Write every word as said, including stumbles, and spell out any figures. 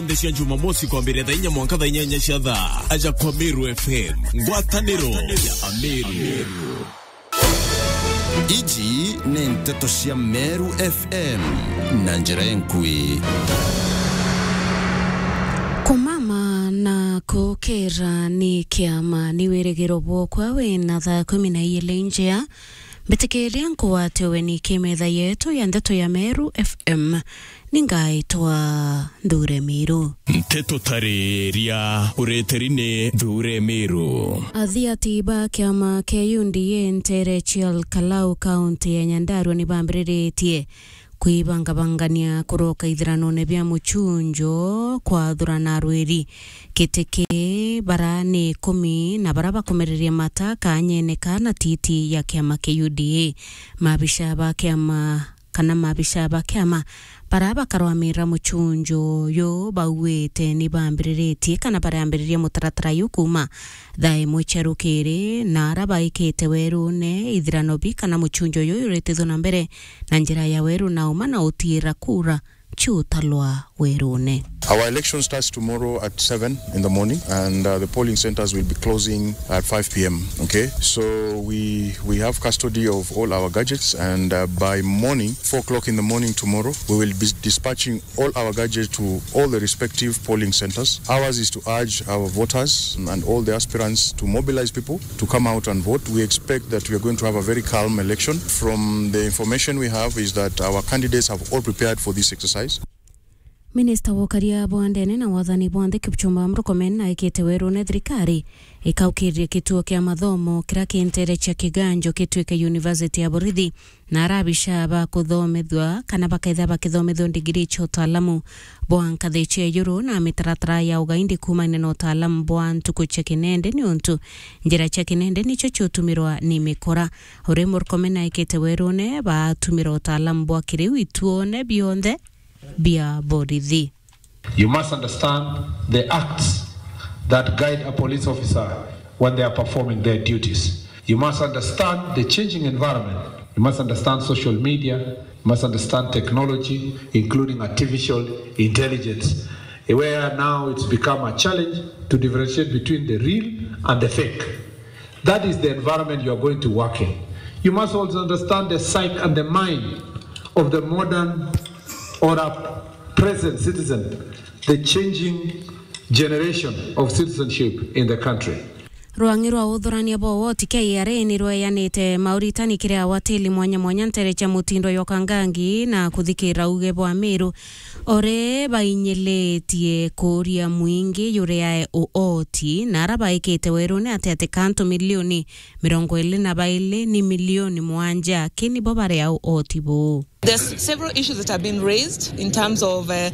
Nthi cia Jumamosi kwambiria thaa inya mwanka thaa inyanya cia thaa. Aja kwa Meru F M. Ngwataniro ya Ameru. Iji ni nteto cia Meru F M na njira enkui. Kumama na kukira ni kiama ni wirigiro bwokwa wina thaa kumi na iiri njia. Mbitikiria nkugwate ugeni ki metha yetu ya nteto ya Meru F M. Ningaitwa Nthure Miru. Nteto tariria ureteri ni Nthure Miru. Athiati ba kiama kia U D A ntere cia Olkalau, kaunti ya Nyandarua, ni bambiriritie kwibangabangania kuroka ithiranone bia muchunjo kwathurana arwiri. Giti ki bara ni ikumi na bara bakomereria mata kanyene ka na titi ya kiama kia U D A. Maabisa ba kiama kana maabisa ba kiama bara bakarwamira muchunjo uyu bauite ni bambiriritie kana barambiririe mutaratara uyu kuuma thaa imwe cia rukiri, na ara baikite werune ithirano bi kana muchunjo uyu uritithwa na mbere na njira ya weru na uma na utiira kura ciutalwa werune. Our election starts tomorrow at seven in the morning, and, uh, the polling centers will be closing at five p m. Okay, so we, we have custody of all our gadgets, and, uh, by morning, four o'clock in the morning tomorrow, we will be dispatching all our gadgets to all the respective polling centers. Ours is to urge our voters and all the aspirants to mobilize people to come out and vote. We expect that we are going to have a very calm election. From the information we have is that our candidates have all prepared for this exercise. Minista wa ukaria bwa ndene na wathani bwa nthi Kipchumba Murkomen aikite werune thirikari ikaukiririe kituo kia mathomo kiria ki ntere cia Kiganjo gituike University ya Borithi, na ara abica ba kuthomithua kana baketha bakithomithua ndigiri cia utaalamu bwa nkathi cia iguru na mitaratara ya ugaindi kuumania na utaalamu bwa ntuku cia kinende, niuntu njira cia kinende nicio ciutumirwa ni mikora. Uri Murkomen aikite werune batumira utaalamu bwa kiriu ituone bionthe bia borithi. You must understand the acts that guide a police officer when they are performing their duties. You must understand the changing environment. You must understand social media. You must understand technology, including artificial intelligence, where now it's become a challenge to differentiate between the real and the fake. That is the environment you are going to work in. You must also understand the psyche and the mind of the modern or a present citizen, the changing generation of citizenship in the country. Rwang'i rwa uthurania bwa woti K R A ni rweyanite mauritani kiri awatili mwanya mwanya ntere cia mutindo yoka ngangi na kuthikira uge bwa Miru. Ore bainyilitie kuuria mwingi juriae uoti, na ara baikite werune ati ati kantu milioni mirongo iri na bairi ni milioni mwanja ki nibo baria uoti buu. There's several issues that have been raised in terms of, uh, the